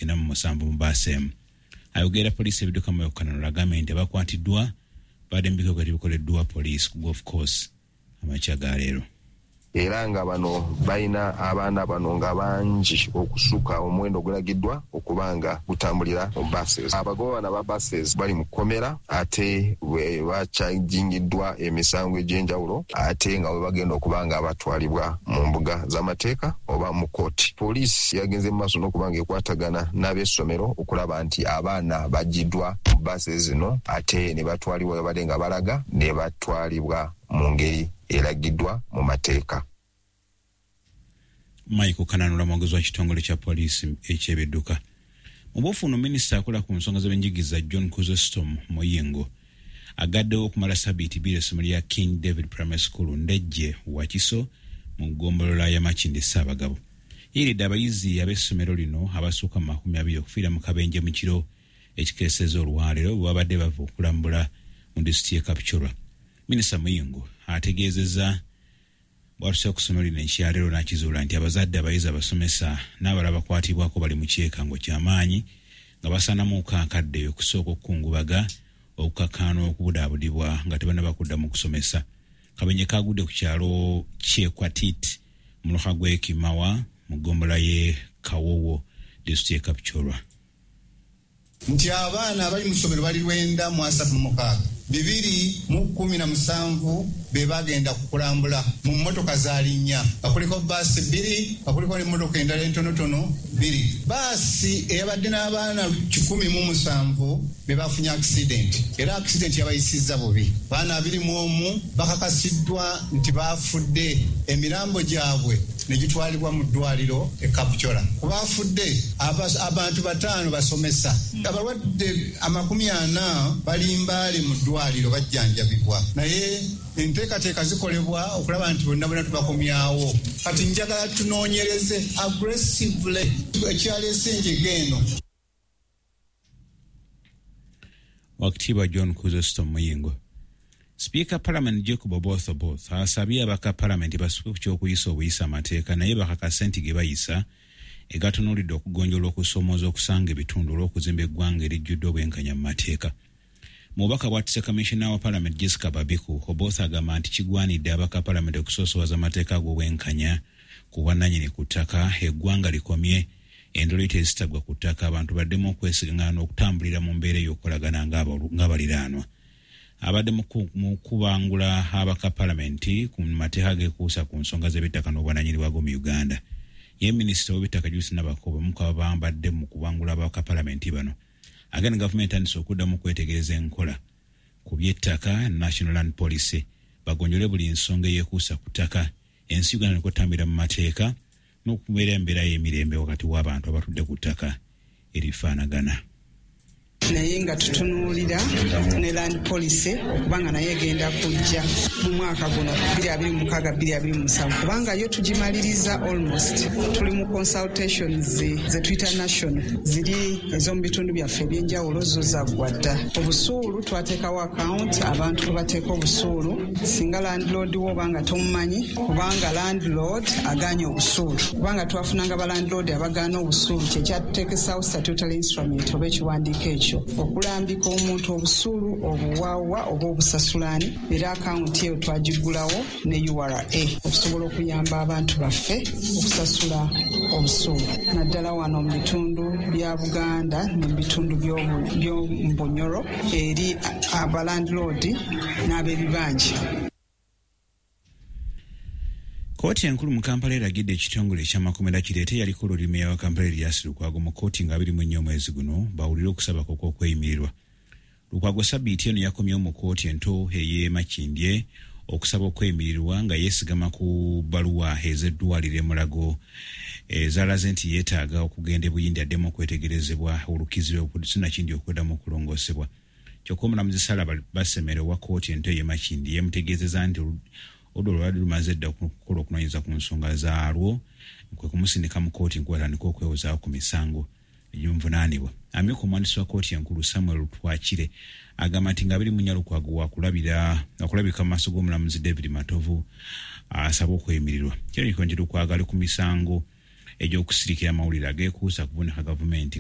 97 mu bbaasi emu. Ayogera poliisi ebidduka mu Kananura agambye nti abakwatiddwa badde mu bikolwa ebikoleddwa poliisi ku golf course amakya ga leero. Era nga bano balina abaana bano nga bangi okusuka omuwendo ogulagiddwa okuba nga gutambulira mu buses. Abagoba bano aba buses bali mu kkomera ate bakyajingiddwa emisango egy'enjawulo ate nga bwe bagenda okuba nga batwalibwa mu mbuga z'amateeka oba mu kkooti. Poliisi yagenze mu maaso n'okuba nga ekwatagana n'ab'essomero okulaba nti abaana baggiddwa mu buses zino ate ne batwalibwa we badde nga balaga ne batwalibwa mu ngeri eragiddwa mu mateeka. Michael Kananura mwogezi wa kitongole kya poliisi eky'ebidduka. Mu buufu minisita akola ku nsonga z'ebyenjigiriza John Chrysostom Muyingo agaddewo okumala sabbiiti 2 essomero lya King David Primary School Ndejje Wakiso mu ggombolola ya Makindye Ssaabagabo. Yeeridde abayizi ab'essomero lino abasukka mu 20 okufiira mu kabenje mu kiro ekikeesezza olwaleero bwe babadde bava okulambula mu disitulikiti y'e Kapchorwa. Minisita Muyingo ategeezezza bw'atuuse ku ssomero lino ekyaleero n'akizuula nti abazadde, abayizi, abasomesa n'abalala bakwatibwako bali mu kyekango ky'amaanyi nga basaanamuuko akadde okusooka okukungubaga, okukakkaana okubudaabudibwa nga tebannaba kudda mu kusomesa. Kabenje kagudde ku kyalo Kyekwatit mu muluka gw'e Kimawa mu ggombolola y'e Kawowo, disitulikiti y'e Kapchorwa. Nti abaana abali mu ssomero bali 936, 217 be bagenda kukulambula mu mmotoka zaali 4, nga kuliko bbaasi 2, nga kuliko n'emmotoka endala entonotono 2. Bbaasi eyabadde n'abaana 107 be bafunye accident, era accident yabayisizza bubi. Abaana 21 bakakasiddwa nti baafudde, emirambo gyabwe ne gitwalibwa mu ddwaliro e Kapchorwa. Ku baafudde abantu 5 basomesa, abalwadde 40 bali Mbale mu ddwaliro bajjanjabibwa, naye enteekateeka zikolebwa okulaba nti bonna bonna tubakomyawo. Kati njagala tunoonyereze aggressively ekyaleese enjega eno. Wakitiibwa John Chrysostom Muyingo. Sipiika Parliament Jacob Oboth Oboth asabye abaka Parliament basuke ku ky'okuyisa obuyisa amateeka naye bakakase nti ge bayisa egatunuulidde okugonjoola okusoomooza okusanga ebitundu olw'okuzimba eggwanga erijjudde obwenkanya mu mateeka. Mu bubaka bw'atisse Kamishona wa Parliament Jessica Babiku, Oboth agamba nti kigwanidde abaka Parliament okusoosowaza amateeka ag'obwenkanya ku bwannannyini ku ttaka, eggwanga likomye endolito ezitagwa ku ttaka, abantu baddemu okwesigangana n'okutambulira mu mbeera ey'okukolagana ng'abaliraanwa. Abadde mu kubangula abaka Palamenti ku mateeka ageekuusa ku nsonga z'ebyettaka n'obwannannyini bwago mu Uganda. Ye minisita w'ebyettaka Judith Nabakooba omu ku abambadde mu kubangula abaka Palamenti bano. Agenda gavumenti etandise okuddamu okwetegereza enkola ku by'ettaka National Land Policy bagonjole buli nsonga eyeekuusa ku ttaka, ensi Uganda nekotambira mu mateeka n'okubeera embeera y'emirembe wakati w'abantu abatudde ku ttaka erifaanagana. Naye nga tutunuulira ne land policy okubanga naye egenda kujja mu mwaka guno 2026-2027, kubanga yo tugimaliriza almost. Tuli mu consultations ze tuyita national, ziri ez'omu bitundu byaffe ebyenjawulo, zo zaggwa dda. Obusuulu twateekawo account abantu kwe bateeka obusuulu, singa landlord wo oba nga tomumanyi, kubanga landlord agaanye obusuulu, kubanga twafunanga ba landlord abagaana obusuulu, kyekyatuteekesawo statutory instrument oba ekiwandiiko ekyo okulambika omuntu obusuulu obuwaawa oba obusasulaani. Era akawunti eyo twagiggulawo ne URA okusobola okuyamba abantu baffe okusasula obusuulu, naddala wano mu bitundu bya Buganda ne mu bitundu by'omu Bunyoro eri abalandlord n'ab'ebibanja. Kkooti enkulu mu Kampala eragidde ekitongole eky'amakomera kireete eyaliko olulimi wa Kampala Erias Lukwago mu kkooti nga 24 omwezi guno bawulire okusaba kwe okw'okweyimirirwa. Lukwago sabbiiti eno yakomyewo mu kkooti ento ey'e Makindye okusaba okweyimirirwa nga yeesigama ku bbaluwa ez'eddwaliro e Mulago ezalaze nti yeetaaga okugenda e Buyindi addemu okwetegerezebwa olukizibwa sinakindi okuddamu okulongoosebwa. Kyokka omulamuzi Sarah Basemere owa kkooti ento ey'e Makindye yamutegeezezza nti oludda olwali lumaze dda okukola okunoonyereza ku nsonga zaalwo kwe kumusindika mu kkooti enkulu atandike okwewozaako ku misango egimuvunaanibwa. Amyuka omuwandiisi wa kkooti enkulu Samuel Twakire agamba nti nga 24 Lukwago wakulabika mu maaso g'omulamuzi David Matovu asaba okweyimirirwa. Kirabika nti Lukwago ali ku misango egy'okusirikira amawulire ageekuusa ku kuvunika gavumenti.